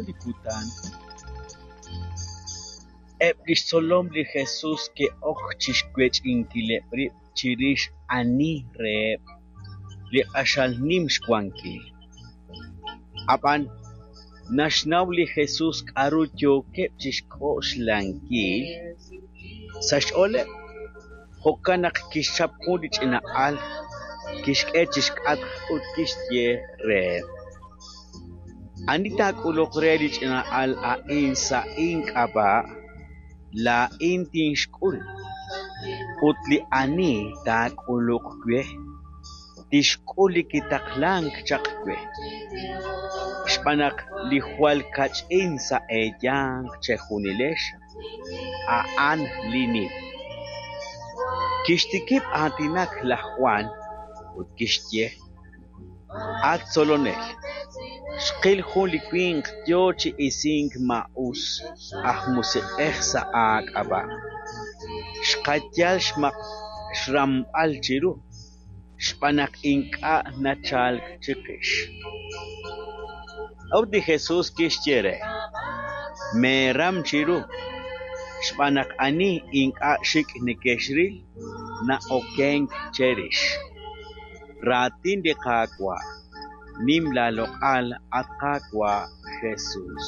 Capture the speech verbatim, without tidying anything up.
Jun li kutan eb' li xtzolom li Jesus ke'ok chi xwech'inkileb' rib' chirix ani reheb' li q'axal nim xwankil. Ab'an naxnaw li Jesus k'aru yookeb' chi xk'oxlankil sa' xch'ooleb'; jo'kan naq kixchap jun li ch'ina'al, kixk'e chi xk'atq ut kixye reheb': Ani taak'uluq re li ch'ina'al a'in sa' ink'ab'a', laa'in tinxk'ul; ut li ani taak'uluq we, tixk'ul li kitaqlank chaq we. Xb'aan naq li jwal kach'in sa' eeyanq chejunilex, a'an li nim. Kixtikib' aatinak laj Jwan ut kixye: At Tzolonel, xqil jun li winq yo chi isink maa'us aj musiq'ej sa' aak'ab'a'. Xqayal xramb'al chiru, xb'aan naq ink'a' nachalk chiqix. A'ut li Jesus kixye re: Meeram chiru, xb'aan naq ani ink'a' xik' nekexril, na'okenk cherix. Raatin li Qaawa'. Nim laaloq'al, at Qaawa' Jesus.